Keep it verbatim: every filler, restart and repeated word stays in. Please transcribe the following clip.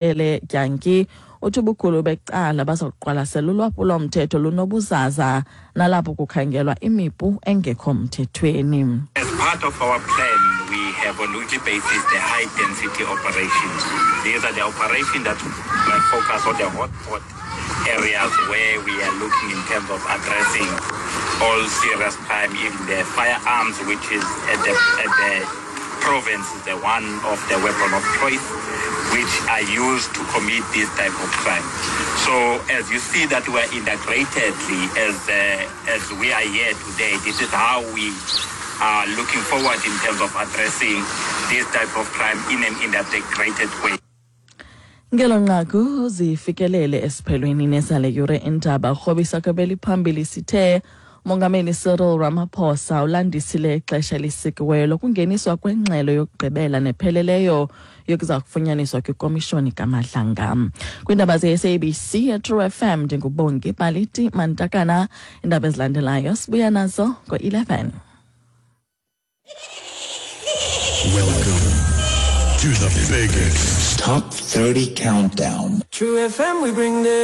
Ele Dyanki uthi ubukhulu becala baza kuqwalasela ulwaphulomthetho lunobuzaza nalapho kukhangelwa imipu engekho mthethweni. As part of our plan, we have on weekly basis the high density operations. These are the operations that focus on the hotspot areas where we are looking in terms of addressing all serious crime, even the firearms, which is at the, at the province is the one of the weapon of choice which are used to commit this type of crime. So as you see that we are integratedly as, uh, as we are here today, this is how we are looking forward in terms of addressing this type of crime in an integrated way. Ngelo nqaku zifikelele esiphelweni nesale yure indaba rhobisa kwebeliphambili sithe Mongameli Cyril Ramaphosa ulandisile ixesha elisikiweyo lokungeniswa kwengxelo yokugqibela nepheleleyo yokuza kufunyaniswa kwikomishoni kaMadlanga. Kwiindaba ze-S A B C eTrue F M, ndinguBongi Paliti Mantakana. Iindaba ezilandelayo sibuya nazo ngo-eleven. Welcome to the biggest Top thirty Countdown. True F M, we bring the